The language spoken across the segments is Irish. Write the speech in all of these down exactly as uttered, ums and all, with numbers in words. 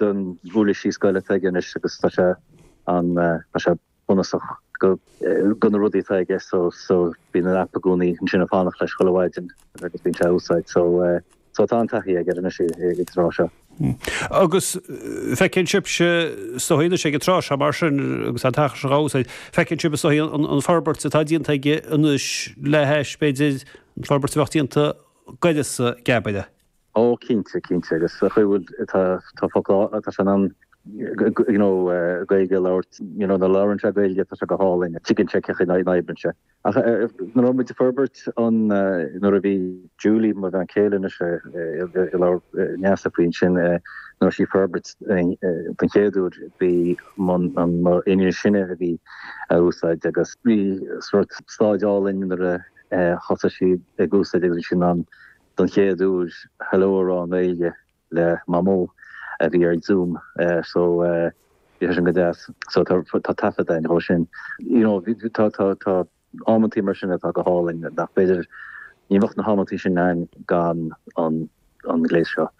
den uirlisí scoile atá aige anois agus tá sé an tá sé bunúsach go go na rudaí atá aige so so bíonn an app i gcónaí ansin ag fanacht leis chuile mhaidin agus bíonn sé á úsáid so so tá an taithí aige anois ag an tráth seo. Agus feiceann sibhse is dóichí anois ag an tráth seo mar sin agus an t-achar seo á úsáid, feiceann sibh is dóichí an forbairt atá déanta aige anois le hais b'fhéidir an forbairt a bheadh déanta d'uireasa Geabaire. Ó cinnte, cinnte agus sa chaoi bhfuil tá tá focal tá sé in ann you know Gaeilge a labhairt you know nuair a labhrann sé Gaeilge tá sé go hálainn tuigeann sé cén chaoi a n-oibríonn sé. Ach nuair a raibh muid ag forbairt an nuair a bhí Julie mo bhean chéile anois ag labhairt Neasa faoi ansin nuair a bhí sí ag forbairt den chéad uair bhí an mo iníon is sine a bhí á úsáid agus bhí sórt staid álainn nuair a thosaigh sí ag úsáid agus bhí sí in ann don chéad uair hello a rá i nGaeilge le Mamó a bhí ar Zoom so bhí sé sin go deas. So tá tá taifead againn dhó sin. You know tá tá tá amantaí mar sin atá go hálainn nach b'fhéidir ní bheadh na hamantaí sin ann gan an an gléas seo.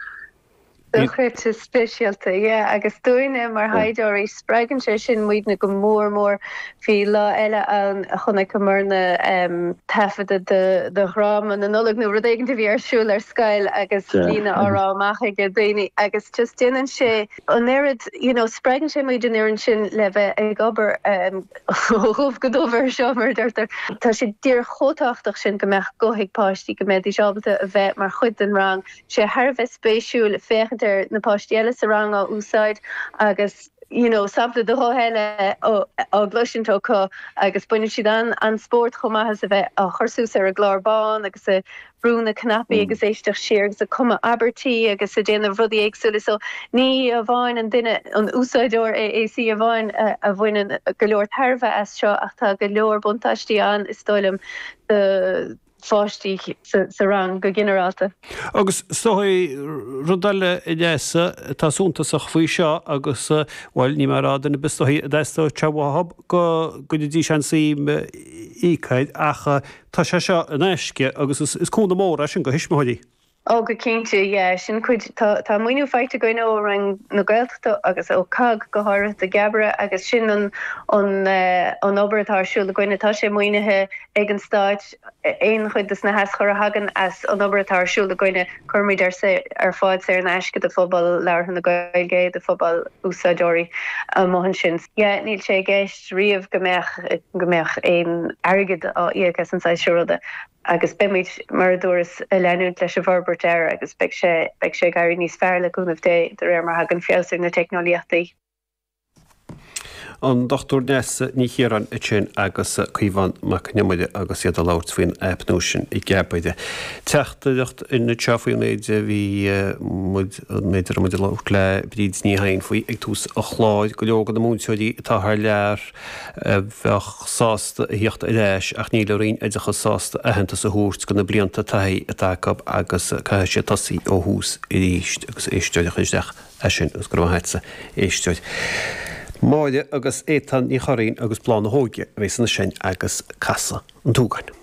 Dochreidte speisialta, yeah, agus dúinne mar thaighdeoirí, spreagann sé sin muidne go mór mór. Bhí lá eile ann a chonaiceamarna taifeadadh de de dhráma na Nollag nó rud éigin a bhí ar siúl ar scoil agus líne á rá amach ag daoine agus just déanann sé an oiread, you know, spreagann sé muid an oiread sin le bheith ag obair ó dhubh go dubh air seo mar a deirtear. Tá sé díreach chomh tábhachtach sin go mbeadh guth ag páistí, go mbeidís ábalta a bheith mar chuid den rang. sé thar a bheith spéisiúil féachaint ar na páistí eile sa rang á úsáid agus you know sampla de ghuth eile á gcloisint acu agus baineann siad an an spórt chomh maith as a bheith á chur suas ar an gclár bán agus ag brú na cnaipí agus éisteacht siar agus ag cumadh abairtí agus ag déanamh rudaí éagsúla so ní amháin an duine an úsáideoir AAC amháin a, a bhaineann go leor tairbhe as seo ach tá go leor buntáistí ann is dóigh liom do pháistí sa rang go ginearálta. Agus is dóichí rud eile a Neasa atá suntasach faoi seo agus, bhuel, níl mé ag rá duine ar bith is dóichí a dteastódh sé uathu go gcuirfidís aon suim íoc air ach tá sé seo in aisce agus is cúnamh mór é sin do thuismitheoirí. Ó go cinnte, yeah, sin cuid, tá, tá maoiniú faighte againn ó Roinn na Gaeltachta agus ó COGG go háirithe do Geabaire agus sin an, an, an obair atá ar siúl againne. Tá sé maoinithe ag an Stát, aon chuid de na haschuir a thagann as an obair atá ar siúl againne, cuirimid ar, ar fáil saor in aisce do phobal labhartha na Gaeilge, do phobal úsáideoirí amuigh ansin. Yeah, níl sé i gceist riamh go mbeadh, go mbeadh aon airgead á íoc as an saghas seo ruda. Agus beimid, mar a dúras, ag leanúint leis an bhforbairt air agus beidh sé, beidh sé ag éirí níos fearr le cúnamh Dé de réir mar a thagann feabhas ar na teicneolaíochtaí. An Dochtúir Neasa Ní Chiaráin ansin agus Caomhán Mac Con Iomaire agus iad ag labhairt faoin aip nua sin Geabaire. Teachtaireacht anseo faoin méid a bhí muid, an méid a raibh muid ag labhairt le Bríd Ní Chadhain faoi ag tús an chláir, go leor de na múinteoirí atá thar lear, a bheadh sásta a thíocht ar ais ach níl an Roinn Oideachais sásta aitheantas a thabhairt do na blianta taithí atá acu agus caithfidh siad tosaí ó thús arís agus éisteoir a chuir isteach é sin agus go raibh maith agatsa éisteoir. Máire agus Étáin Ní Churraoin agus Bláth na hÓige a bheas ansin agus Casadh an tSúgáin.